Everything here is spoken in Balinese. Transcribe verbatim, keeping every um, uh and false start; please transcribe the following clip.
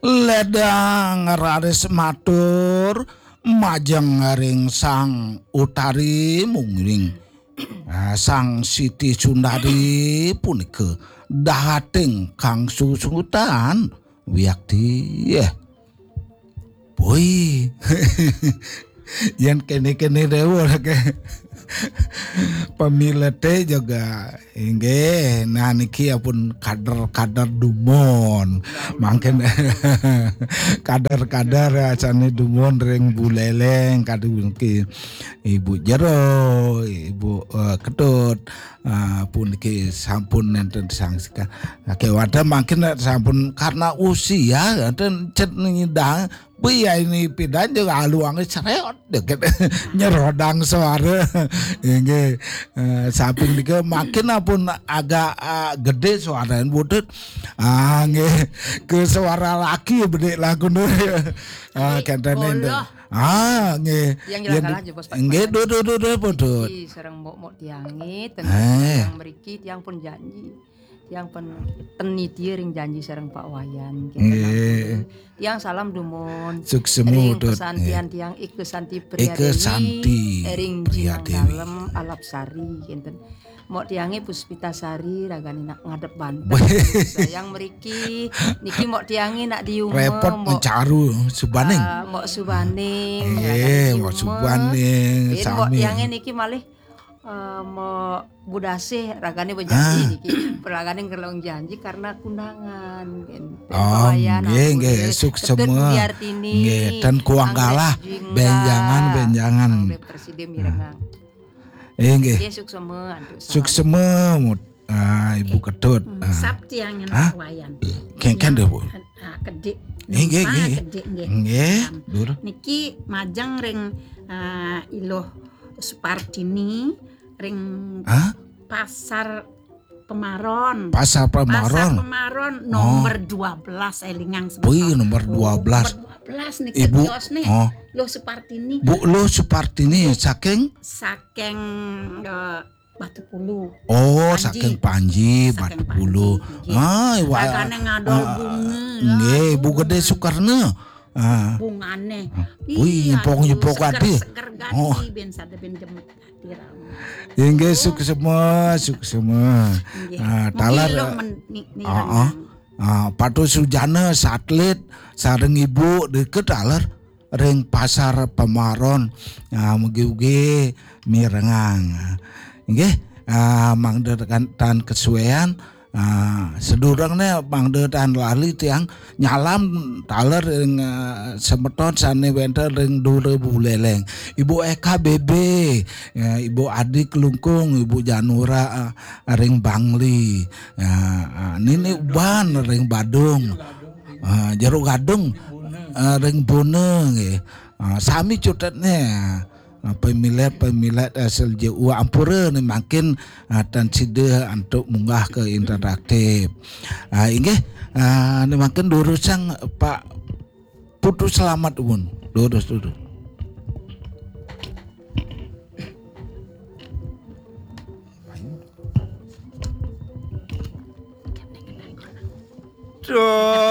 Ledang raris matur majeng ring Sang Utari mungguing, ah, Sang Siti Sundari punika dahating kang susutan wiakti. Boy. Yen kene-kene dewe ke. Pemilete juga inggih. Nah, niki apun kader-kader dumun. Mangkin kader-kader asane dumun ring Buleleng, kader niki Ibu Jero, Ibu, eh, Ketut, ah, puniki sampun nenten sangsika. Kewanten mangkin sampun karena usia, enten cet nyidang, biya ini pidan juga aluange cereot deket. Nyerodang suara. Inggih, eh, samping nika makin apun agak, ah, gede suarane budut. Ah, nggih. Ke suara laki bedik lagu nu. Ah, kenten enten. Ah, nggih. Yang jelas Yen kalah di-, jebos Pak nggih, Pak. Duh, duh, duh, duh, pun, duh. Iki sareng mbok-mbok tiange, ten Eh. Tiang mriki, tiang pun janji. Tiang pun teni dia ring janji sareng Pak Wayan. Nggih. Tiang salam dumun. Suksema, ring Dut. Pesantian nggih. Tiang Ike Santi Ike Priadewi, Santi ring Priadewi. Jinang Dalem, Alap Sari, kinten. Mok tiange Puspita Sari, ragane nak ngadep banten. Weh. Sayang mriki, niki mok tiange nak di uma, repot mok, mencaru Subaning. Ah, mok Subaning, eh, ragane di mok uma. Subaning, ini mok sami. Tiange niki malih, eh, mok Budasih, ragane berjanji. Ah. Niki. Ragane ngerlong janji karena kundangan. Oh, pelayan nggih, aku nggih, deh. Suksema. Ketut Budiartini, nggih, dan kuang anggrek kalah, jingga. Benjangan, benjangan. Anggrek presiden mirengang. Eh, nggih. Nggih, suksema, antuk salam. Suksema, mut-, ah, Ibu Ketut. Hmm, ah. Sap tiang enak. Hah? Wayan. Kengken deh, Bu. Ah, kedik. Eh, nggih, nggih. Kedik, nggih. Nggih, um, Dur. Niki majeng ring, ah, Iluh Supartini, ring hah? Pasar Pemaron. Pasar Pemaron. Pasar Pemaron, oh, nomor dua belas, elingang semeton. Wih, nomor dua belas. Oh, nomor dua belas niki, Ibu, kios nih. Oh. Luh Supartini. Bu Luh Supartini saking? Saking, eh, Batu Pulu. Oh, Panji. Saking Panji, saking Batu Pulu. Panji, nggih. Ah, iwa-, ragane ngadol ah, bunga, nggih, lah, Bu Gede bunga. Sukarno. Ah. Bungane. Wih, iya, nyepok-nyepok seger, ati. Seger gati, oh. Ben sada ben jemet ati rame. Inggih, oh. Suksema, suksema. Inggih. Ah, mungkin taler, lo men-, ni-, ni ah, ah. Renang. Ah, Patu Sujana, Satlit, sareng Ibu, deket taler ring Pasar Pemaron. Ah, mugi-ugi mirengang. Inggih, ah, mangda tekan tan kesuean, ah, sedurungne mangda tan lali tiang nyalam taler ring, ah, semeton sane wenten ring Dura Buleleng. Ibu Eka B B, ya, Ibu Adi Klungkung, Ibu Janura, ah, ring Bangli. Ya, ah, Nini Uban ring Badung. Ah, Jero Gadung, ah, ring Bone nggih. Ah, sami cutetne. Ah, pemilet-pemilet asal J U ampura ni makin, ah, tan sida antuk munggah ke interaktif. Ah, inggih, ah, ni makin durusang Pak Putu Selamat, Uwun. Durus, durus. Duh.